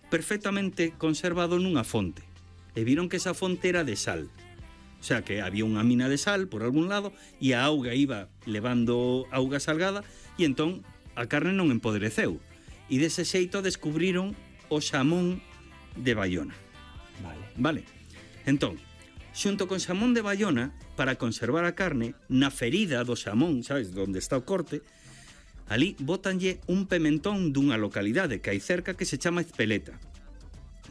perfectamente conservado nunha fonte. E viron que esa fonte era de sal. O sea, que había unha mina de sal por algún lado e a auga iba levando auga salgada e entón a carne non empodreceu. E dese xeito descubriron o xamón de Baiona. Vale. Entón, xunto con xamón de Baiona, para conservar a carne, na ferida do xamón, sabes, onde está o corte, ali bótanlle un pementón dunha localidade que hai cerca que se chama Ezpeleta.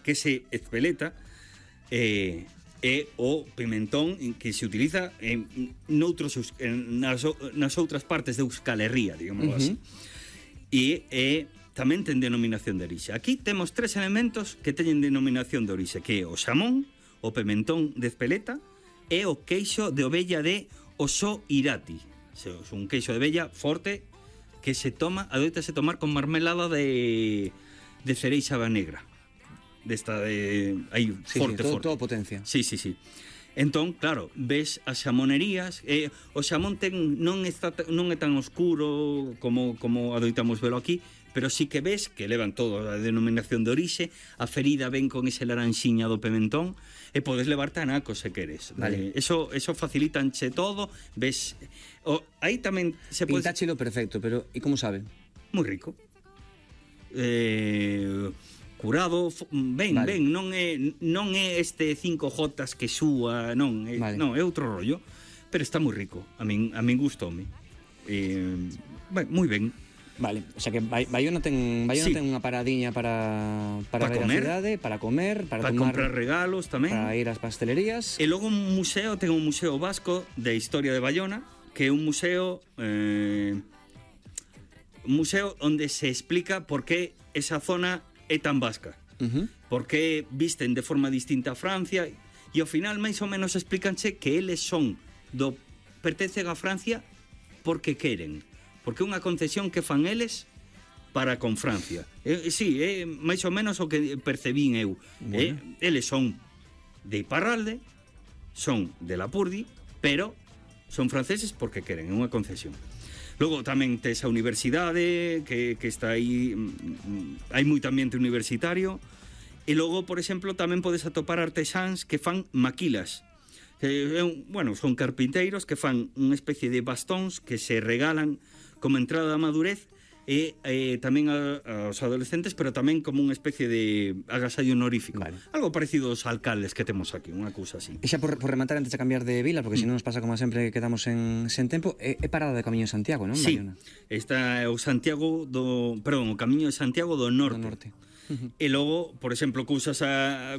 Que se Ezpeleta é o pimentón que se utiliza nas outras partes de Euskal Herria, digamos así. E tamén ten denominación de orixe. Aquí temos 3 elementos que teñen denominación de orixe, que é o xamón, o pimentón de Ezpeleta e o queixo de ovella de Oso Irati. É un queixo de ovella forte que se toma, adoitase tomar con marmelada de cereixa negra. Desta de aí forte, forte. Todo potencia. Sí. Entón, claro, ves as xamonerías, o xamón non é tan oscuro como adoitamos velo aquí, pero sí que ves que levan todo a denominación de orixe, a ferida ven con ese laranxiña do pimentón, e podes levarte a naco se queres. Vale. Eso facilitanche todo, ves... aí tamén se pode... Pintáchelo perfecto, pero e como sabe? Moi rico. Curado, ben, non é este 5J que súa, non, é outro rollo, pero está moi rico. A min gustoume. Moi ben. Vale, o sea que Baiona ten unha paradiña para ver comer, a cidade, para comer, para tomar, comprar regalos tamén, para ir ás pastelerías. E logo un museo, ten un museo vasco de historia de Baiona, que é un museo onde se explica por que esa zona é tan vasca. Por que visten de forma distinta a Francia, e ao final máis ou menos explícanche que eles pertencen a Francia porque queren, porque é unha concesión que fan eles para con Francia. Sí, é máis ou menos o que percebín eu. Eles son de Iparralde, son de Lapurdi, pero son franceses porque queren, é unha concesión. Logo tamén tes a universidade que está aí, hai moito ambiente universitario, e logo, por exemplo, tamén podes atopar artesáns que fan maquilas. Son carpinteiros que fan unha especie de bastóns que se regalan como entrada da madurez e tamén aos adolescentes, pero tamén como unha especie de agasallo honorífico. Algo parecido aos alcaldes que temos aquí, unha cousa así. E xa por rematar, antes de cambiar de vila, porque se non nos pasa como sempre que quedamos sen tempo, é parada de Camiño de Santiago, non? Sí, está o Camiño de Santiago do Norte. E logo, por exemplo, cousas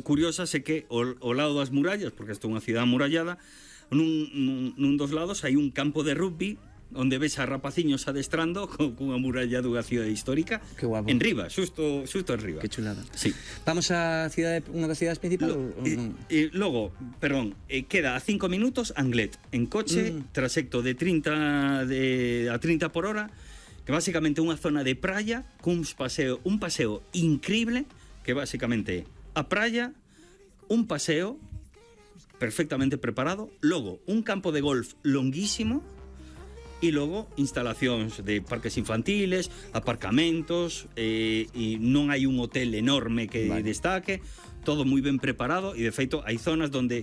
curiosas é que ao lado das murallas, porque isto é unha cidade amurallada, nun dos lados hai un campo de rugby onde ves a rapaciños adestrando cunha muralla dunha cidade histórica. Que guapo. En riba, xusto en riba. Que chulada. Sí. Vamos a unha das cidades principales? Logo, queda a 5 minutos Anglet, en coche, trasecto de 30 por hora, que basicamente é unha zona de praia cun un paseo increíble, que basicamente é a praia, un paseo perfectamente preparado, logo un campo de golf longuísimo, e logo instalacións de parques infantiles, aparcamentos, e non hai un hotel enorme que destaque, todo moi ben preparado, e de feito hai zonas onde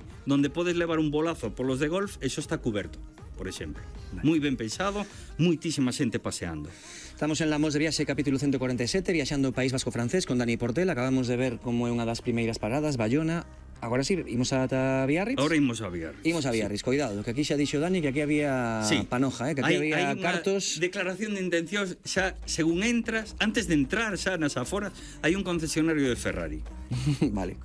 podes levar un bolazo polos de golf, eso está cuberto, por exemplo. Moi ben pensado, moitísima xente paseando. Estamos en Lamos de Viaxe, capítulo 147, viaxando o País Vasco francés con Dani Portel. Acabamos de ver como é unha das primeiras paradas, Baiona. Agora sí, imos ata Biarritz? Ahora imos a Biarritz. Imos a Biarritz, sí. Cuidado, que aquí xa dixo Dani que aquí había panoja, que aquí había cartos. Hai declaración de intencións, xa, según entras, antes de entrar xa nas aforas, hai un concesionario de Ferrari. Vale.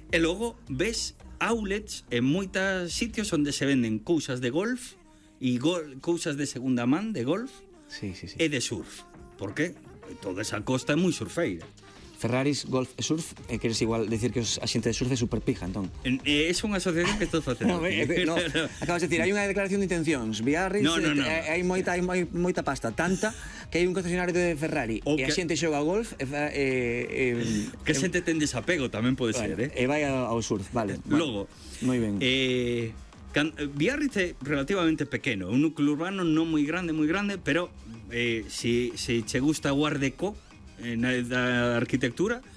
E logo ves outlets en moitos sitios onde se venden cousas de golf e cousas de segunda man de golf e de surf. Por que? Toda esa costa é moi surfeira. Ferraris, golf e surf, queres igual decir que a xente de surf é super pija, entón? É unha asociación que estou facendo. Acabas de decir, hai unha declaración de intencións, Biarritz, hai moita pasta, tanta que hai un concesionario de Ferrari e a xente xoga ao golf que a xente ten desapego, tamén pode ser, e vai ao surf, vale. Logo, moi ben. Biarritz é relativamente pequeno, un núcleo urbano non moi grande, pero se che gusta o Art Deco da arquitectura,